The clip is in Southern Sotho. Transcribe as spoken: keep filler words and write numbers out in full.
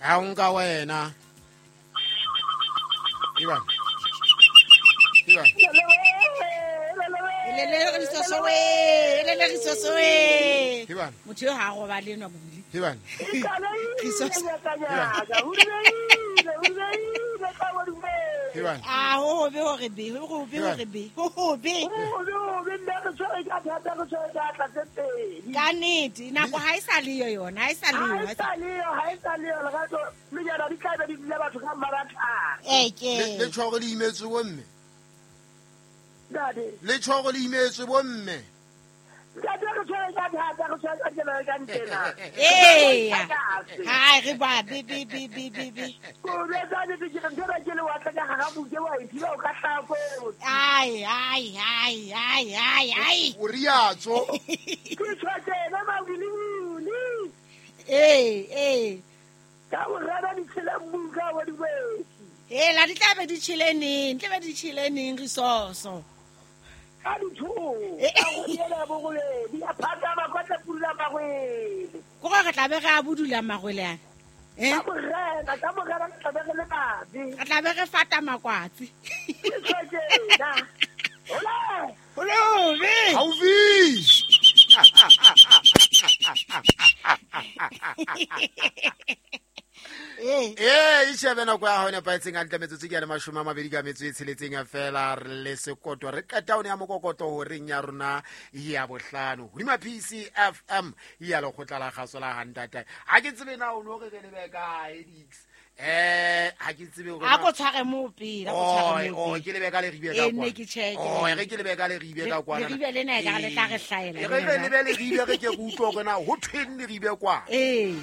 Ha o nka wena. Ivan. Ivan. Elele risoso we, elele risoso we. Ivan. Motho yo ha go ba le nwa bobili. Ivan. Risoso. Ivan. Ah, ho be hore be, ho be hore be, ho be. Ka nnete, nako ha e sa le yo yona, ha e sa le yo. Ha e sa le yo, ha e sa le yo, lerato le jana di tla be di dula batho ka mmaratha. Eh ke. Le tshwaro le imetswe bo mme. Ntate. Le tshwaro le imetswe bo mme. Ntate re tshwere ka thata, re tshwere ka tsela ka ntena. Eh. Ha re ba be be be be be be. Ko le tsa di ke re ntse ke le wa tla ka ga buke wa ithiba o ka hlako. Ai ai ai ai ai ai. O riatso. Ke tshwere na mawili. Eh eh. Ka o rata di tshela buka wa di wetsi. Eh la di tla be di tshele neng, tla be di tshele neng risoso. Ka ditho ka go yela bogole di a phata ba kwa tla pula magwele. Ko re tla be re a budula magwele ana. Eh? Ka morena, ka morena tla be re le babe. Re tla be re fata makwatsi. Ke Hola. Hola, be. Haufi. Eh. Eh, ishebe nako ya hone paetseng a ntle metsotso ke ya le mashome a mabedi ka metso e tsheletseng fela re le sekoto re qeta one ya mokokoto horeng ya rona ya bohlano hodima P C F M ya lekgotla la kgaso la Hantata. Ha ke tsebe na o no re re lebe kae Dix. Eh, ha ke tsebe hore a ko tshware mo pele, a ko tshware mo. Oh, ke lebe ka le ribe ka kwa. Eh, ne ke check. Oh, re ke lebe ka le ribe ka kwa. Le ribe le na e ka le tla re hlaela. Re re lebe le ribe re ke re utlwe hore na ho thweng le ribe kwa. Eh.